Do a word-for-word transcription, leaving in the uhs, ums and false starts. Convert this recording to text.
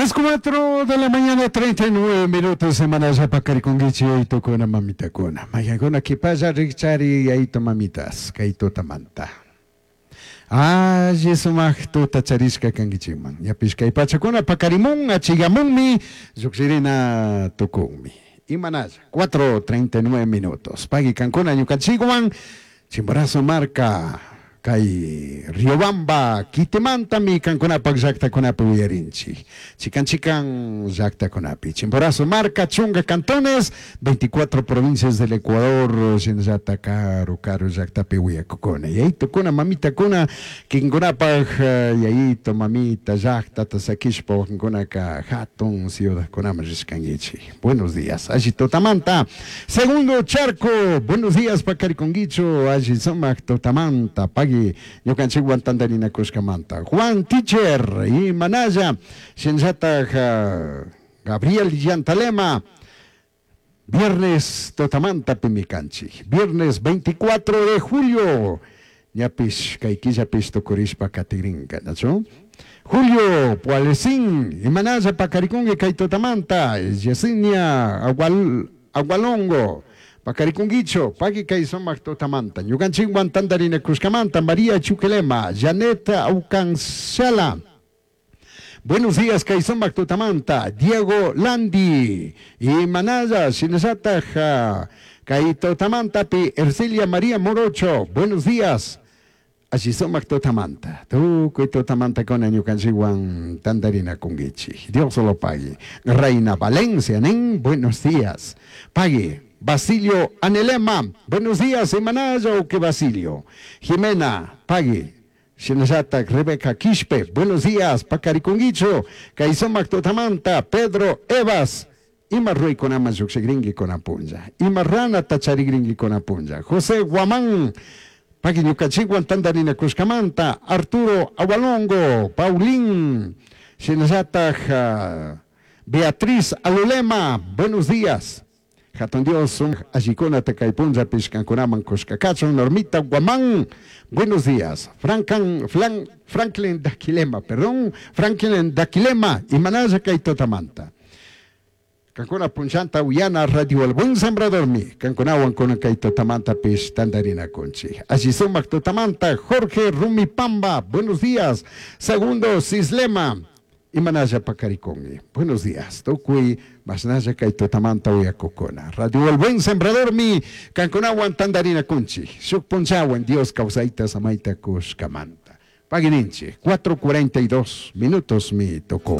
Las cuatro de la mañana, treinta y nueve minutos, semana paqarikunkichik yayitukuna, mamitakuna. Mayankuna kipalla rikchari yayitu mamitas, kay tutamanta. Alli sumak tuta charishka kankichikman. Ñapish kay pachakuna paqarimun, achigamunmi, lluqshirina tukunmi. Imanalla, cuatro treinta y nueve minutos. Pagui kankuna ñukanchikwan, Chimborazo marka, kay Riobamba kitimantami kankunapak llaktakunapi uyarinchik. Chikan chikan llaktakunapi. Chimborazo marka, chunka cantones, veinticuatro provincias del Ecuador, shinallata karu karu llaktapi uyakukuna. Yayitukuna, mamitakuna, kinkunapak yayito, mamita, llaktata sakishpa wakinkunaka hatun ciudadkunaman rishkankichik. Buenos días. Alli tutamanta. Segundo Charco, buenos días, paqarikunkichu, alli sumak tutamanta. Pagui ñukanchikwan tantarinakushkamanta. Juan Teacher y Manaya, shinllatak Gabriel Yantalema. Viernes tutamanta pimikanchik. Viernes veinticuatro de julio. Ñapish kay killapish tukurishpa katirinka, ¿nachu? Julio Pualecín, Imanaya paqarikunki kay tutamanta, Yesenia Agual, Agualongo, paqarikunkichu, pagui kay sumak tutamanta, ñukanchikwan tantarinakushkamanta, María Chuquelema, Janet Aucanchala. Buenos días, kay sumak tutamanta, Diego Landi, y Manaya, shinallataj, kay tutamantapi, Ercilia María Morocho, buenos días. Alli sumak tutamanta. Tukuy tutamantakuna ñukanchikwan tantarinakunkichik. Dios lo pague. Reina Valencia, nin, buenos días. Pague. Basilio Anelema, buenos días, Imanaya o que Basilio. Jimena, pague. Shinallatak Rebeca Quispe, buenos días, paqarikunkichu, kay sumak tutamanta, Pedro Evas, ima ruraykunaman lluqshikrinki kunan punlla, ima ranata charikrinki kunan punlla. José Guamán, pagui ñukanchikwan tantarinakushkamanta, Arturo Agualongo, Paulín, shinallatak uh, Beatriz Alulema, buenos días. Hatun Dios, allikunata kay punllapish kankunaman kushka kachun. Normita Guamán, buenos días. Frankan, Flan, Franklin Daquilema, perdón, Franklin Daquilema, imanalla kay tutamanta. Kankuna punllanta uyana Radio El Buen Sembrador mi, kankunawan kunan kay tutamantapish tantarinakunchik. Alli sumak tutamanta, Jorge Rumipamba, buenos días. Segundo Sislema, imanalla paqarikunki. Buenos días. Tukuy mashnalla kay tutamanta uyakukuna. Radio El Buen Sembrador mi kankunawan tantarinakunchik. Shuk punchawan Dios kawsayta samayta kushkamanta. Pagui ninchik, cuatro cuarenta y dos minutos mi tocó.